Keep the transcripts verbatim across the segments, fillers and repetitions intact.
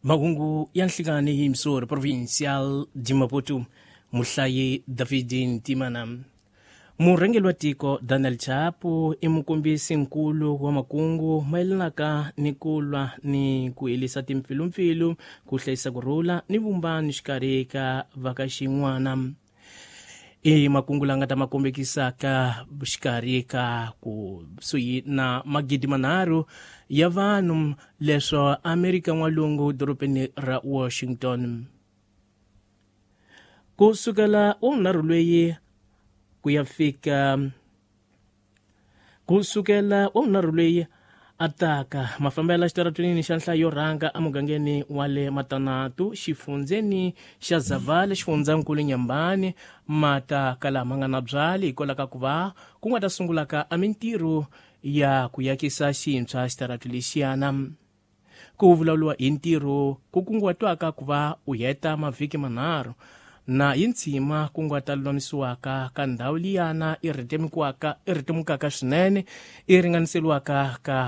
Mahungu ya nhlikani hi Missouri Provincial de Maputo, muhlayi David Ntimana. Murhangeri wa tiko Daniel Chapo i mukombisi nkulu wa makungu mayelanaka ni ku lwa ni ku herisa timpfilumpfilu, ku hlayisa ku rhula ni vumbano xikarhi ka va ka xin'wana. I makungu la nga ta ma kombekisaka xikarhi ka kusuhi na magidi manharhu ya vanhu leswo Amerika N'walungu dorobeni ra Washington. Ku sukela wunharhu loyi ku ya fika ku sukela wunharhu loyi ataka mafambela xitaratwini xa nhlayo yo rhanga emugangeni wa le Matanatu, xifundzeni xa Zavala, xifundzankulu Nyambani, mata kala ma nga na byali hikwalaho ka ku va ku nga ta sungulaka a mintirho ya ku yakisa xintshwa xitaratu lexiyana. Ku vulavuriwa hi ntirho ku kunguhatiwaka ku va u heta mavhiki manharhu na hi ntshima ku nga ta lulamisiwaka ka ndhawu liyana i rhetemukiwaka i rhetemukaka swinene i ringaniseriwaka ka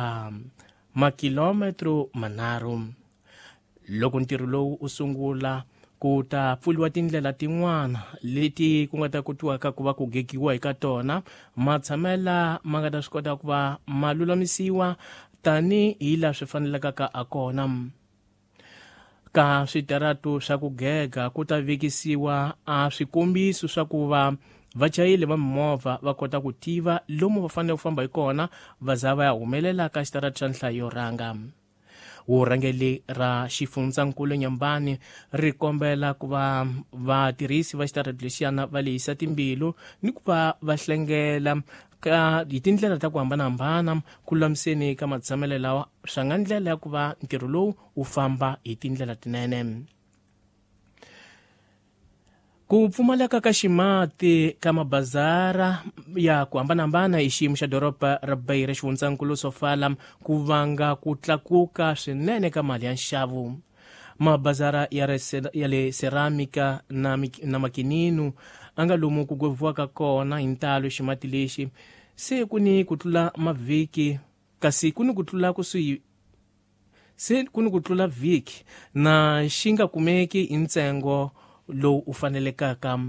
makilometro manharhu. Loko ntirho lowu u sungula, ku ta pfuriwa tindlela tin'wana leti ku nga ta kotiwaka ku va ku gegiwa eka tona, matshamela ma nga ta swi kota ku va ma lulamisiwa tanihi laha swi fanelekaka a kona. Ka switaratu swa ku gega ku ta vekisiwa a swikombiso swa ku va vachayeri va mimovha va kota ku tiva lomu va fanele ku famba hi kona va za va ya humelela ka xitaratu xa nhlayo yo rhanga. Vurhangeri ra xifundzankulu Nyambani ri kombela ku va vatirhisi va xitaratu lexiyana va lehisa timbilu ni ku va va hlengela ka hi tindlela ta ku hambanahambana ku lulamiseni ka matshamelo lawa swa nga ndlela ya ku va ntirho lowu wu famba hi tindlela tinene. Ku pfumaleka ka ximati ka mabazara ya ku hambanahambana hi xiyimo xa doroba ra Beira, xifundzankulu Sofala, ku vanga ku tlakuka swinene ka mali ya nxavo. Mabazara ya, ya le Ceramica na, na Makinino a nga lomu ku gweviwaka kona hi ntalo ximati lexi se ku ni ku tlula mavhiki, kasi ku ni ku tlula kusuhi se ku ni ku tlula vhiki na xi nga kumeki hi ntsengo lowu u fanelekaka.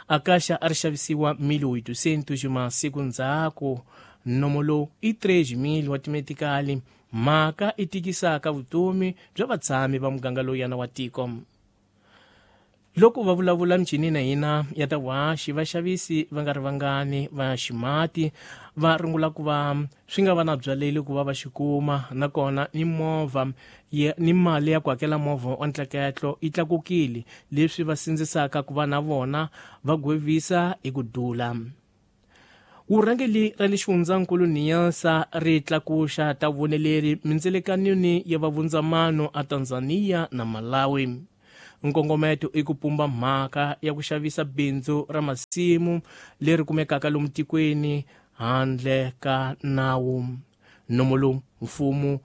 Akasha a ri xavisiwa mil oitocentos masiku ndzhaku, nomo lowu i três mil wa timetikali, mhaka i tikisaka vutomi bya vatshami va muganga lowuyana wa tiko. Loko va vulavula michini na hina ya ta vuhaxi, vaxavisi va nga ri vangani va ximati va rungula ku va swi nga va na byaleli ku va va xi kuma, nakona ni movha ni mali ya ku hakela movha wa ntleketlo yi tlakukile, leswi va sindzisaka ku va na vona va gwevisa hi ku dula. Vurhangeri ra le xifundzankulu Niassa ri tlakuxa ta vuneleri mindzelekanini ya vavundzamano a Tanzania na Malawi. Nkongometo i ku pumba mhaka ya ku xavisa bindzu ra masimu leri kumekaka lomu tikweni handle ka nawu. Nomo lowu mfumo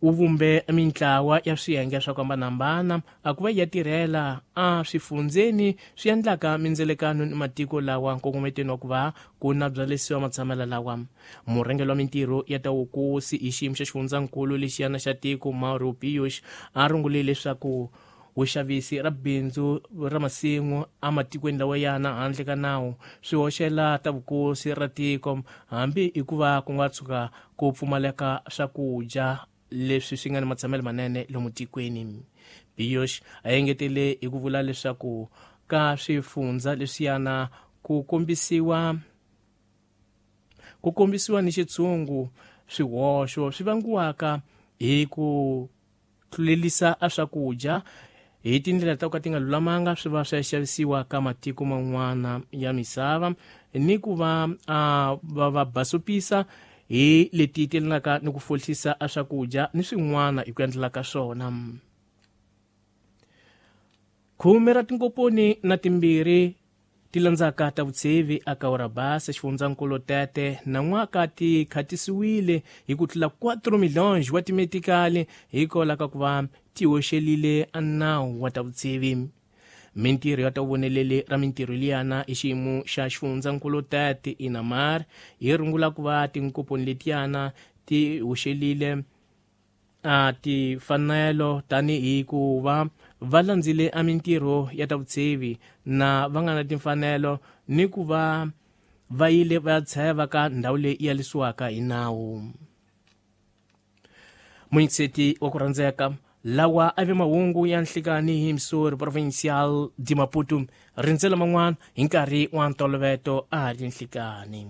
wu vumbe mintlawa ya swiyenge swa ku hambanahambana a ku va ya tirhela a swifundzeni swi endlaka mindzelekano ni matiko lawa nkongometweni wa ku va ku na byalesiwa matshamela lawa. Murhangeri wa mintirho ya ta vukosi hi xiyimo xa xifundzankulu lexiyana xa tiko Mauro Pius a rungule leswaku vuxavisi ra bindzu ra masimu ematikweni lawa yana handle ka nawu swi hoxela ta vukosi ra tiko, hambi hikuva ku nga tshuka ku pfumaleka swakudya leswi swi nga ni matshamelo manene lomu tikweni. Pius a engetele hi ku vula leswaku ka swifundza leswiyana ku kombisiwa ku kombisiwa ni xitshungu swihoxo swi vangiwaka hi ku tlulelisa a swakudya hi tindlela ta ku ka ti nga lulamanga, swi va swi ya xavisiwa ka matiko man'wana ya misava, ni ku va a va va basopisa hi leti telanaka ni ku fohlisa a swakudya ni swin'wana hi ku endlela ka swona. Khume ra tinkoponi na timbirhi ti landzaka ta vutsevi a Kaurabasa, xifundzankulu Tete, nan'waka ti khatisiwile hi ku tlula quatro milhões wa timetikali hikwalaho ka ku va ti hoxelile a nawu wa ta vutsevi. Mintirho ya ta voneleli ra mintirho liyana hi xiyimo xa xifundzankulu Tete Inamar hi rungula ku va tinkoponi letiyana ti hoxelile a timfanelo tanihi ku va va landzile a mintirho ya ta vutshevi na va nga na timfanelo ni ku va va yile va ya tsheva ka ndhawu leyi yi yalisiwaka hi nawu. Munyikiseti wa ku rhandzeka, lawa a ve mahungu ya nhlikani hi Missouri Provincial di Maputo. Rindzela man'wana hi nkarhi wa ntolovelo a ha ri nhlikani.